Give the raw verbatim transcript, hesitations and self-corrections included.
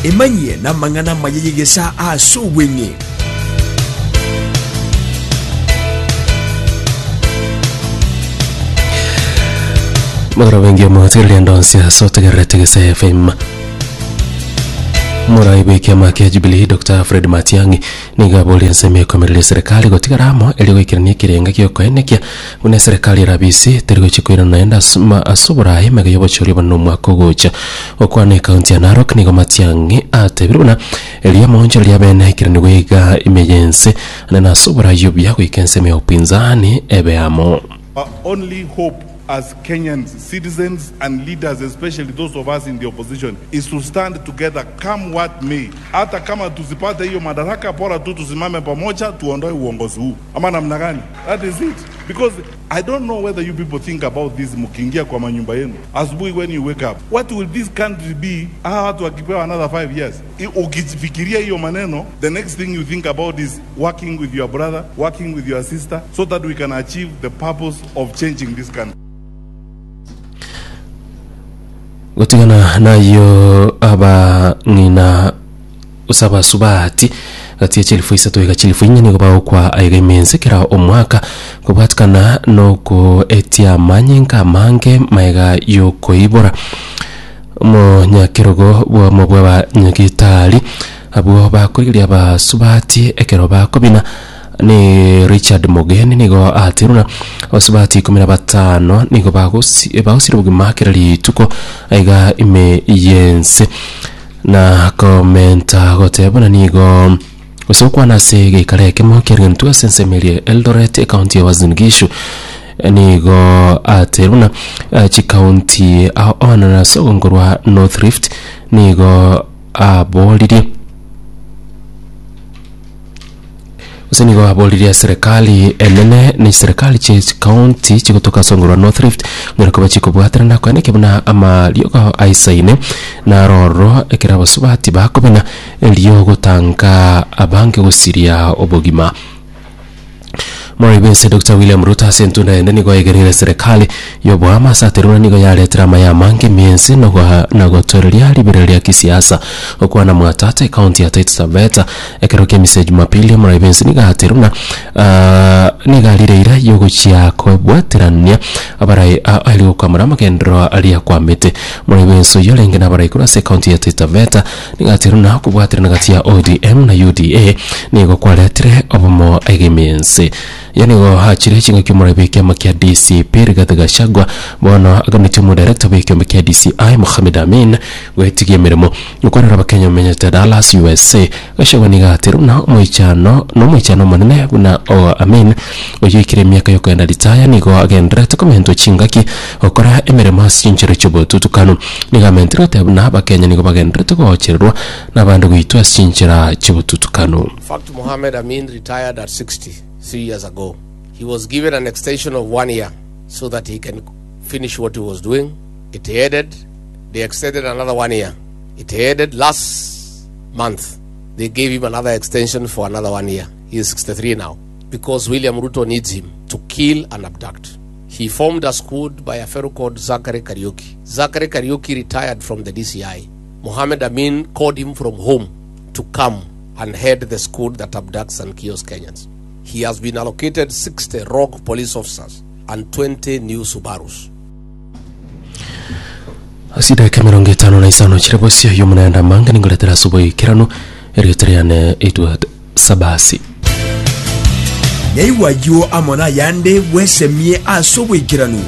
Emanyie namang'ana amaya y'egesaa ase obweng'e. Magoro bengi omotigereria ndonsi ase otegererete Gesa F M. Morai bw'ekiama kia Jubilee Doctor Fred Matiang'i nigo aboria ensemo ekomereria eserekari gotigara amo erio goikerania ekerenga giokoenekia buna eserekari erabisi teri gochia koirana naende ase ma- ase oborai mega y'obochori obonene omwaka ogocha. Gokwana ekaunti ya Narok nigo Matiang'i atebire buna erio amaonchoreri riabe naikeraniwe iga ime y'ense naende ase oborai obuya goika ensemo ya upinzani ebe amo. Our only hope as Kenyans, citizens, and leaders, especially those of us in the opposition, is to stand together come what may. Hata kama tusipate hiyo madaraka, bora tu tusimame pamoja, tuondoe uongozi huu, ama namna gani? That is it. Because I don't know whether you people think about this mkiingia kwa manyumba yenu asubuhi, when you wake up, what will this country be? Hawa watu wakipewa another five years, I- ukifikiria hiyo maneno, the next thing you think about is working with your brother, working with your sister, so that we can achieve the purpose of changing this country. Gotigana nayo abang'ina gose abasubati gati ya chilifu isato iga chilifu inye nigo bagokwa aiga imense kera omwaka kobwatikana nokoetia amanyinga amange maega yokoibora. Omonyakerogo bwamo bwa abanyagitari abwo bakorigeria abasubati ekero bakobina ni Richard Mogeni nigo ateruna abasubati ikumi na batano nigo bagosi bagosire obogima kera rituko aiga ime yense na komenta goteba nigo gose gokwana ase geikara ekemo kiarigenetwe ase ensemo eria Eldoret, ekaunti ya Uasin Gishu, nigo ateruna chikaunti ao na ase ogongo rwa North Rift nigo aboririe gose nigo aboririe serikali enene na serikali chia chikaunti chigotoka ase ogongo rwa North Rift ng'ora koba chikobwaterana koeneke buna amariogo aisaine naroro ekero abasubati bakobina erio gotanga abange gosiria obogima. Morai Doctor William Ruto ase entunda ende nigo aigereire serikali yoboama ase ateruna nigo yaretera amaya amange miensi na gotoreria ribero ria kisiasa. Okwana Mwatate, ekaunti ya Taita Taveta, ekero kia emisa ya Jumapili, Morai bwense nigo ateruna uh, nigo arireira yogochia kobwaterania abarai ari gokwamura amagendero aria kwamete. Morai bwense oyo orenge na abarai korwa ase ekaunti ya Taita Taveta nigo ateruna okobwaterana gati ya O D M na U D A nigo kwaretire obomo aiga emiense. Yani nigo hachire ching'aki omorai bw'ekiama kia D C P Rigathi Gachagua bono aganetie omodirector bw'ekiombe kia D C I Mohamed Amin gwetigia emeremo. Gokwanera abakenya omenyete Dallas, U S A, Gachagua nigo ateruna omoichano nomoichano omonene buna o Amin oyo oikire emiaka yokoenda ritaya nigo agenderete komentwa chingaki gokora emeremo ase chinchero chi'obotutukanu. Nigo amentire goteba buna abakenya nigo bagenderete gochererwa n'abande goitwa ase chinchera chi'obotutukanu. In fact, Mohammed Amin retired at sixty-three years ago. He was given an extension of one year so that he can finish what he was doing. It ended. They extended another one year. It ended last month. They gave him another extension for another one year. He is sixty-three now because William Ruto needs him to kill and abduct. He formed a squad by a fellow called Zachary Kariuki. Zachary Kariuki retired from the D C I. Mohammed Amin called him from home to come and head the squad that abducts and kills Kenyans. He has been allocated sixty rogue police officers and twenty new Subarus. Ase dakika emerongo etano na isano chire bosio y'omonanda manga ningoretera ase oboikeranu erieta riane Edward Sabasi. Nyaigwa ayio amo nayande bwesemie ase oboikeranu.